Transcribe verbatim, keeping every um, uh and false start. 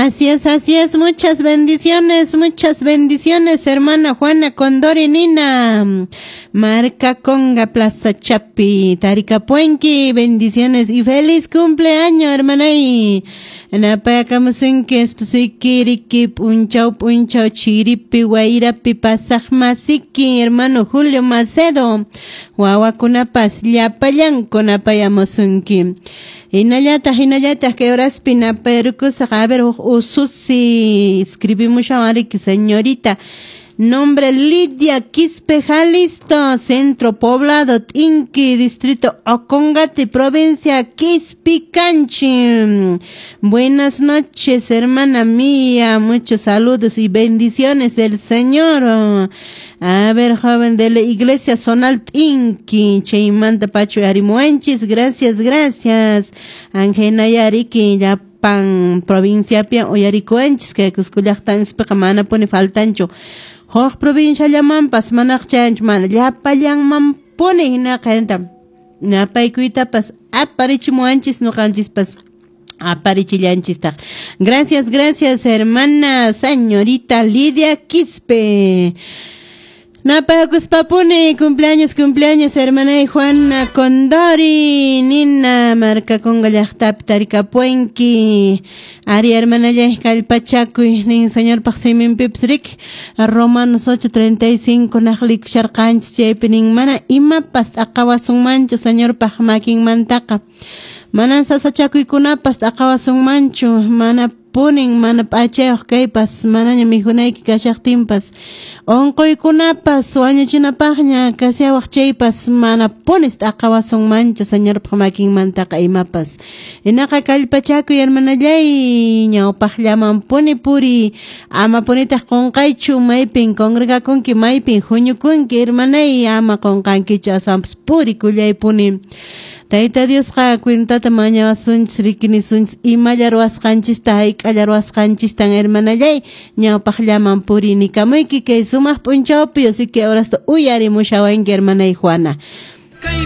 Así es, así es. Muchas bendiciones, muchas bendiciones, hermana Juana Condori Nina. Marca Conga, Plaza Chapi, Taricapuenqui. Bendiciones y feliz cumpleaños, hermana. Y napayakamusunki esposuyki riki p'unchaw p'unchaw chiripi wayrapi pasaq masiki hermano Julio Macedo. Wawakunapas llapallanku napayamusunki. Hinallataq hinallataq kay horaspi napayrukusaq a ver huk ususi escribimushawan riki señorita. Nombre Lidia Quispe Jalisto, Centro Poblado Tinqui, Distrito Ocongate, Provincia Quispicanchi. Buenas noches, hermana mía. Muchos saludos y bendiciones del Señor. A ver, joven de la Iglesia Zonal Tinqui, Chaymanta Pacho Arimuanchis, gracias, gracias. Angena Yariki, ya pan provincia pia uyarikuanchis, kay Cusco llaqtanchispiqa mana puni faltanchu. Huk provincia llamanpas manaq chayanchu mana llapallanman puni hinaqa napaykuytapas aparichimuwanchis ñuqanchispas aparichillanchistaq. Gracias, gracias, hermana señorita Lidia Quispe. Napakuspapuni, cumpleaños, cumpleaños, hermana Juana Condori, Nina, Marca Conga llaqtapi Taricapuenqui, Ari hermana kallpachakuy, nin señor paqsiminpipas riki, Romanos ocho treinta y cinco naqlikusharqanchis chaypi nin mana imapas t'aqawasunmanchu señorpaq makinmantaqa, manan sasachakuykunapas t'aqawasunmanchu, mana punin mana p'achayuq kaypas manaña mikhunayki kashaqtinpas unquykunapas wañuchinapaqña kasiawaq chaypas mana punis t'aqawasunmanchu señorpaq makinmantaqa imapas. Hinaqa kallpachakuy hermanallay ñawpaqllaman puni puri ama punitaq qunqaychu maypin congregakunki maypin huñukunki hermanay ama qunqankichu asampas purikullay puni. Tayta Diosqa cuentata mañawasunchis rikinisunchis imalla ruwasqanchista hayk'alla ruwasqanchistan hermanallay ñawpaqllaman purinikamuyki kay sumaq p'unchawpi así que ahora hasta uyarimushawanki hermanay Juana.